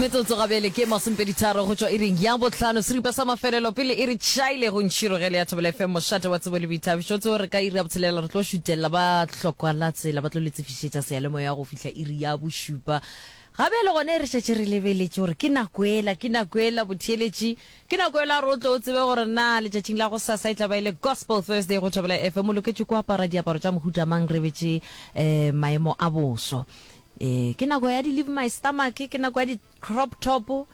Metsotso gabjale ke masomepeditharo go tšwa iring ya bohlano, seripa sa mafelelo pele e re tšhaile go ntšhirogele ya Thobela FM, mošate wa tsebo le boithabišo. Tseo re ka iri ya botshelela re tlo šutelela ba hlokwa la tsela ba tlo le tsefišetša seyalemoya go fihla iri ya bošupa. Gabjale gona e re šetše re lebeletše gore ke nako ela, ke nako ela botheeletši, ke nako ela gore o tle o tsebe gore na letšatšing la gosasa e tla ba e le Gospel Thursday go Thobela FM, o loketše ko apara diaparo tša mohuta mang re betše um maemo a boso. Ee, ke nako ya di leave my stomach, ke nako ya di crop top,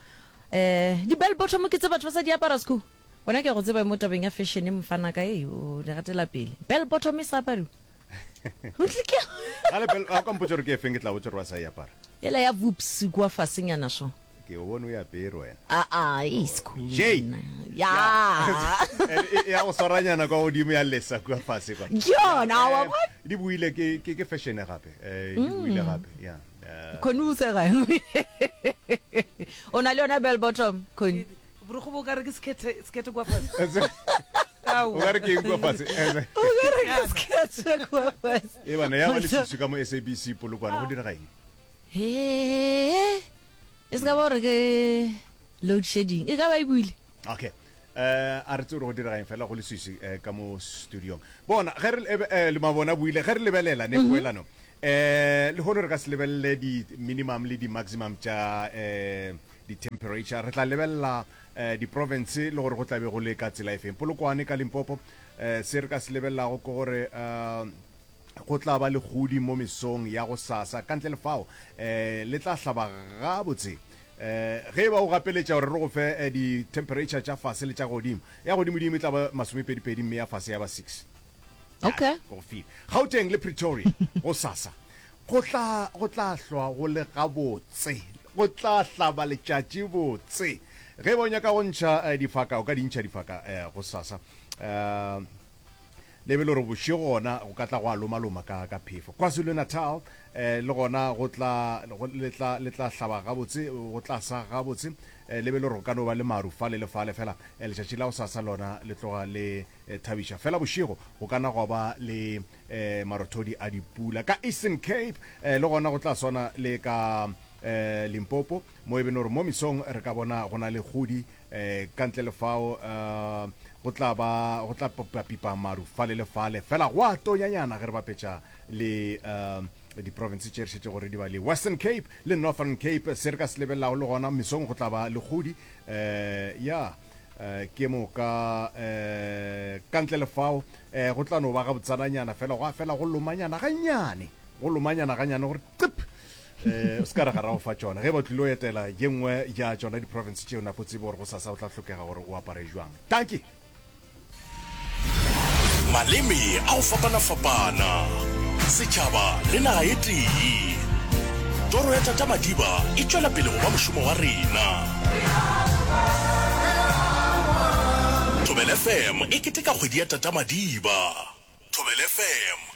eh, di bell bottom ke tse batho ba sa di apara sku. Wena ke a go tseba mo tabeng ya fashion mfanaka, ei, o di gatela pele. Bell bottom e sa apariwa. Gale bell, a o ka mpotša gore ke efeng ke tla botša gore ba sa e apara. Yela ya voops kua fasenyana so. Ke o bone o e apere wena. Aa, ei sku. Jay. Ya. E ya go swaranyana kwa godimo ya lesa kua fase kwa. Ke yona, wa bona? Di boile ke ke ke fashion gape. Eh di boile gape. Ya. Khoni o sega. O na le yona bell bottom, Khoni? Borokgo bo ka re ke sekhethe sekhethe kwa fase. O ka re ke eng kwa fase? O ka re ke sekhethe kwa fase. E bana ya ba leswiswi ka mo SABC Polokwane go direga eng? He. E se ka ba gore ke load shedding. E ka ba e buile. Okay. Eh a re tsebe gore go direga eng fela go leswiswi eh, ka mo studiong. Bona ge re eh, eh, le mabona buile ge re lebelela ne poelano. Eh lehono re ka se lebelele di minimum le di maximum tša eh di temperature. Re tla lebelela eh di province le gore go tla be go le ka tsela e feng. Polokwane ka Limpopo eh se re ka se lebelelago ke gore eh Go tla ba le kgudi mo mesong ya gosasa. Ka ntle le fao, le tla hlaba gabotse. Ge e ba o gapeletša gore re go fe di-temperature tša fase le tša godimo, ya godimodimo e tla ba masomepedipedi mme ya fase ya ba 6. Okay. Ke go file. Gauteng le Pretoria gosasa go tla, go tla hlwa go le gabotse. Go tla hlaba letšatši botse. Ge e ba o nyaka go ntšha difaka, o ka di ntšha difaka gosasa. Le be le gore bošego gona go ka tla gwa lomaloma ka, ka phefo. KwaZulu-Natal, eh, le gona go tla, go, le tla, le tla hlaba gabotse, go tla sa gabotse. Eh, le be le gore go ka no ba le maru fale le fale, fela eh, letšatši la gosasa lona le tloga le eh, thabiša. Fela bošego go ka na gwa ba le eh, marothodi a dipula. Ka Eastern Cape, eh, le gona go tla swana le ka eh, Limpopo, mo e be le gore mo mesong re ka bona go na le kgodi Ka ntle le fao, go tla ba, go tla pipapipa maru fale le fale, fela go a tonyanyana ge re bapetša le diprofense tše re šetšego re di ba le Western Cape le Northern Cape. Se re ka se lebelelago le gona, mesong go tla ba le kgodi, ya, ke moka. Ka ntle le fao, go tla no ba gabotsananyana, fela gwa fela go lomanyana gannyane, go lomanyana gannyane gore qip! Eh, o se ka re ga ra go fa tšona. Ge e ba o tlile o etela ye nngwe ya tšona di-province tšeo, napo tsebe gore gosasa o tla hlokega gore o apare jwang. Dankie. Maleme a go fapana-fapana, setšhaba le naga e tee. Toro ya Tata Madiba e tšwela pele go ba mošomo wa rena. Thobela FM e keteka kgwedi ya Tata Madiba. Thobela FM.